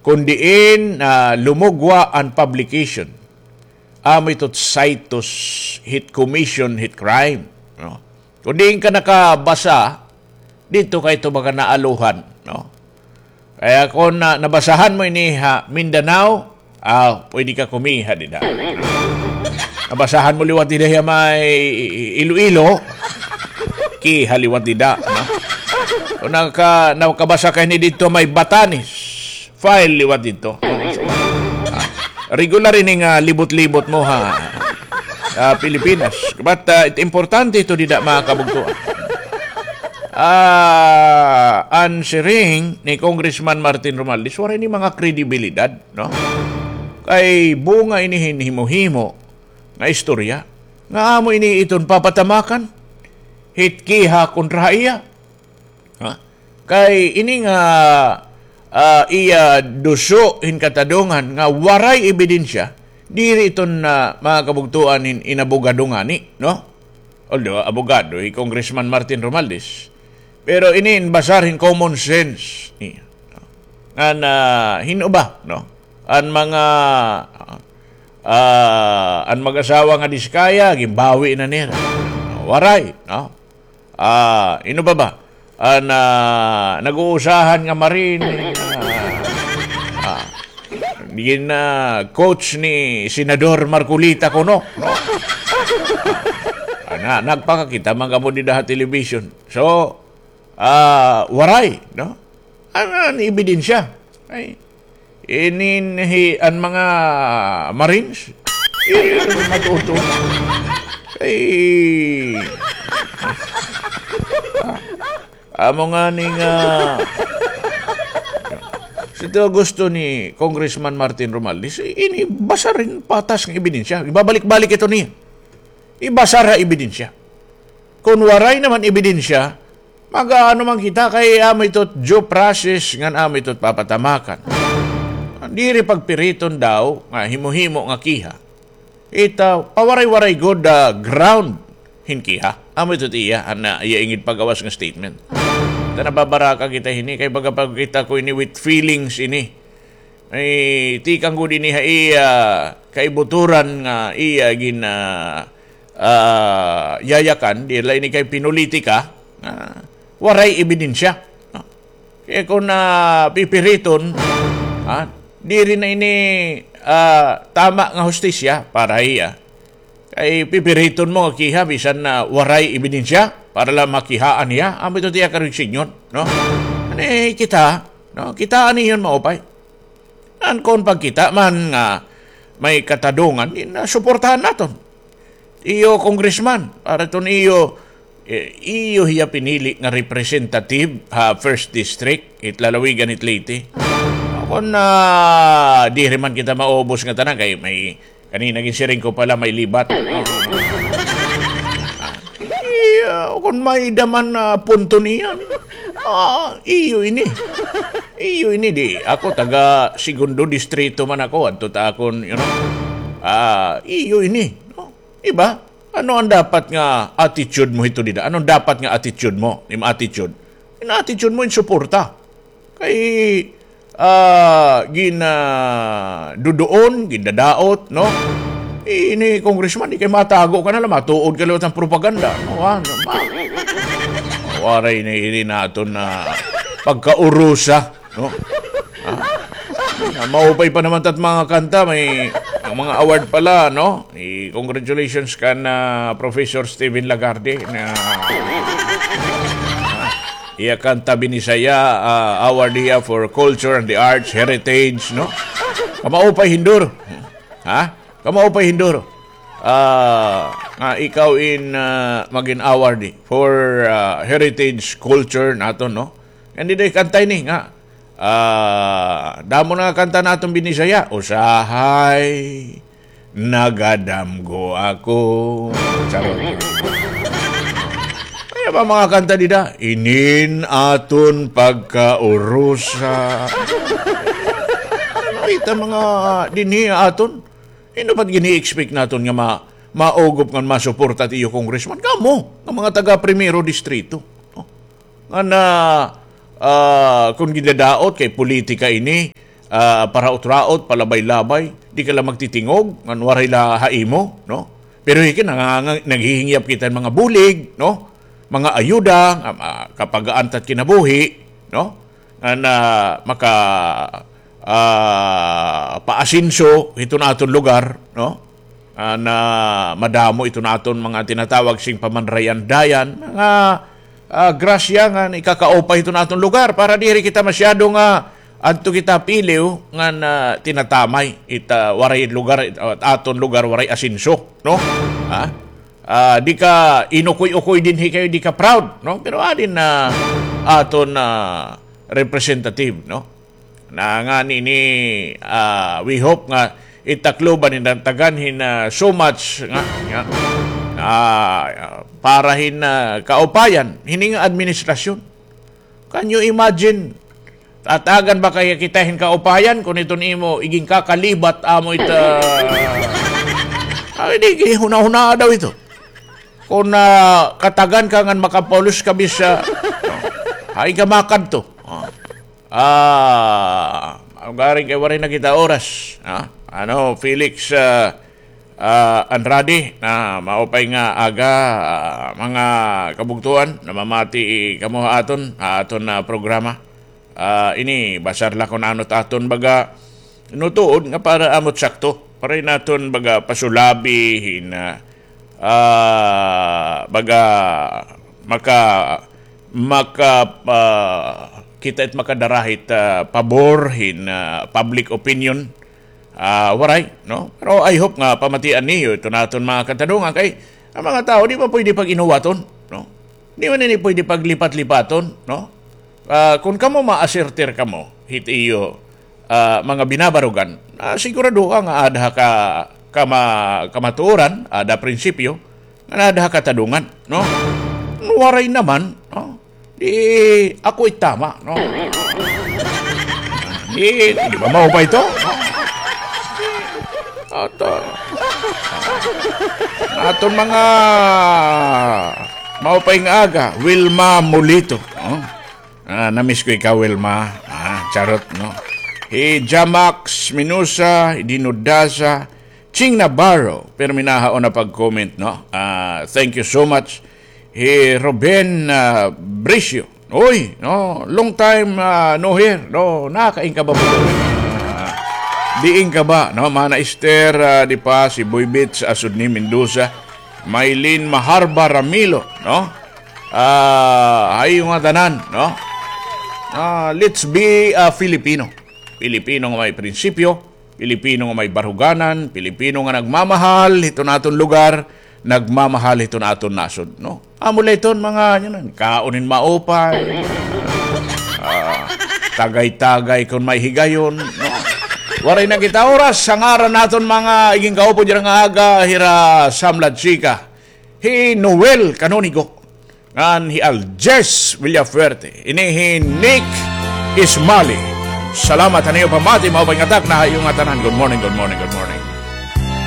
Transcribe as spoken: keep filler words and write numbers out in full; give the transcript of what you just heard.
Kun diin, ah, lumugwa an publication, amo ito citus hit commission hit crime, no? Kun diin ka nakabasa, didto ka ito baga naaluhan, no? Kaya kun, ah, nabasahan mo ini ha Mindanao, ah, pwede ka kumiha dida. Nabasahan mo liwat dida ha may Iloilo, kiha liwat dida, no? Kun naka-, nakabasa ka ini didto may Batanes, file liwat didto. Ah, regular ini nga libot-libot mo ha, ah, Pilipinas. But, ah, it importante ito dida, mga kabugtoan. Ah, an siring ni Congressman Martin Romualdez, waray ini mga kredibilidad, no? Kay bunga ini hin himo-himo nga istorya, nga amo ini iton papatamakan hit kiha kontra ha iya. Ha? Kay ini nga, ah, iya duso hin katadongan nga waray ebidensya, diri iton, ah, mga kabugtoan hin inabogado ngani, no? Although abogado hi Congressman Martin Romualdez, pero ini in basar hin common sense niya, no? Ngan, ah, hin-o ba, no? An mga, ah, an mag-asawa nga diskaya, ginbawi na nira. Waray, no? Ah, hin-o pa ba? An, ah, nag-uusahan nga Marine, ah, ah, gin, ah, coach ni Senador Marcoleta kuno, no? Ah, na, nagpakakita man kamo dida ha television. So, ah, waray, no? An, an ebidensya? Ay, inin hi, an mga Marines, eh, matuto. Ay, ah, amo ngani nga, ito gusto ni Congressman Martin Romualdez, ini basar hin patas nga ebidensya. Ibabalik-balik ito niya. Ibasar ha ebidensya. Kun waray naman ebidensya, mag-aano man kita kay amo ito due process ngan amo ito papatamakan. Diri pagpiriton daw nga himo-himo nga kiha. Ita, pawaray-waray gud, ah, ground hin kiha. Amo ito iya, an, ah, iya ingid pagawas nga statement. Ita, nababaraka kita hini, kay baga pagkita ko ini with feelings ini. Ay, tikang gud ini ha iya kaibuturan nga iya gin, ah, ah, yayakan, diri la ini kay pinulitika, ah, waray ebidensya, no? Kay kun, ah, pipiriton, ah, diri na ini, ah, tama nga hustisya para ha iya. Kay pipiriton mo nga kiha bisan na waray ebidensya para la makihaan hiya. Amo ito tiya karuyag sidngon, no? Ani kita, no? Kita ani iyon maupay. An kon pagkita man nga may katadongan, di na suportahan naton. Iyo congressman, para iton iyo, eh, iyo hiya pinili nga representative ha first district, it lalawigan it Leyte. Kon, ah, diri man kita maubos nga tanan, kay may Kanina ginsiring ko pala may libat. Iya, kon may-ada man, ah, punto niyan. Ah, iyo ini. Iyo ini di. Ako taga segundo distrito man ako. Adto ta akon, you know. Ah, iyo ini. No? Iba? Ano an dapat nga attitude mo hito dida? Ano an dapat nga attitude mo? Im attitude. In attitude mo, in suporta. Kay, ah, gin, ah, duduon, gindadaot, no? Ini congressman, di kay matago ka na la, matuod ka liwat han propaganda, no? Ah, no, ma-, waray na ini naton na pagkaurusa, no? Ah, ah, maupay pa naman tat mga kanta, may, an mga award pala, no? I-congratulations kan, ah, Professor Steven Lagarde na iya kanta Binisaya, ah, award hiya for culture and the arts, heritage, no? Kamaupay hin duro. Ha? Kamaupay hin duro. Ah, nga ikaw in, ah, magin award for, ah, heritage culture naton, no? Ngan dida kanta ini nga, ah, damo na nga kanta naton Binisaya. Usahay nagadamgo ako. Charot. Kay ba mga kanta dida? Inin aton pagkaurusa. Ano ita mga dinhi aton? Hin-o pa it gini-expect naton nga ma-, maugop ngan masuporta it iyo congressman? Kamo, nga mga taga Primero Distrito. No? Ngan, ah, kon gindadaot kay politika ini, ah, paraot-raot, palabay-labay, di ka la magtitingog, ngan waray la ha imo, no? Pero hiki, nanganga-, naghihingyap kita hin mga bulig, no? Mga ayuda, ah, ah, kapagaan ta it kinabuhi, no? Ngan, ah, maka, ah, paasenso hiton aton lugar, no? Ah, na madamo iton aton mga tinatawag sing pamanrayandayan, mga, ah, grasya nga ikakaupay hiton aton lugar para diri kita masyado nga adto kita piliw nga na tinatamay it, ah, waray lugar, it, ah, aton lugar waray asenso, no? Ha? Ah, di ka inukoy-ukoy dinhi kay di ka proud, no? Pero adin na aton, ah, representative, no? Na ngani ini, ah, we hope nga it Tacloban hin natagan hin, ah, so much nga, nga, ah, para hin, ah, kaupayan hini nga administrasyon. Can you imagine? Tatagan ba kaya kita hin kaupayan kon iton imo iginkakalibat amo ita? Ay, di, ginhunahunaa daw ito. Kon, ah, katagan ka ngan makapulos ka bis, ah, hain ka makadto? Ah. Ah, ugaring kay waray na kita oras, ha? Ano, Felix, ah, ah, Andrade, na maupay nga aga, ah, mga kabugtoan, namamati kamo ha aton, ha aton, ah, programa. Ah, ini, basar la kon ano it aton baga, no, tuod nga para amo it sakto. Para naton baga pasulabi hin, ah, ah, baga maka, maka, ah, kita it makadara hit, ah, pabor hin, ah, public opinion. Ah, waray, no? Pero I hope nga pamatian niyo ito naton mga katanungan kay ang mga tao di man pwede pag-inuwaton, no? Di man ini pwede paglipat-lipaton, no? Ah, kon kamo maasertir kamo hit iyo, ah, mga binabarugan, ah, sigurado ka nga ada ka, kama-, kamatuoran, ada prinsipyo, nga ada katanungan, no? Waray naman, no? Di ako it tama, no? Di, di ba maupay ito? At, ah, aton mga maupay nga aga, Wilma Molito, no? Ah, namiss ko ikaw, Wilma. Ah, charot, no? Hi Jamax Minusa, Dino Daza, Ching Navarro, pirmi nahaon na pag-comment, no? Ah, thank you so much. Hi Ruben, ah, Bricio. Uy, no, long time, ah, no hear, no, nakain ka ba po? Ah, diin ka ba, no? Mana Esther, ah, di pa, si Boy Bits, Asudni Mendoza, Maylene Maharba Ramilo, no? Ah, ha iyo ngatanan, no? Ah, let's be, ah, Filipino. Pilipino nga may prinsipyo, Pilipino nga may baruganan, Pilipino nga nagmamahal hiton aton lugar, nagmamahal hiton aton nasod, no? Amo la iton mga, yun, kaon hin maupay, ah, tagay-tagay kon may higayon, no? Waray na kita oras, ha ngaran naton mga iginkaupo dira nga aga, hira Sam Lachica, hi Noel Canonigo, ngan hi Aljes Villafuerte. Ini hi Nick Ismali. Salamat han iyo pamati, maupay nga takna ha iyo ngatanan. Good morning, good morning, good morning.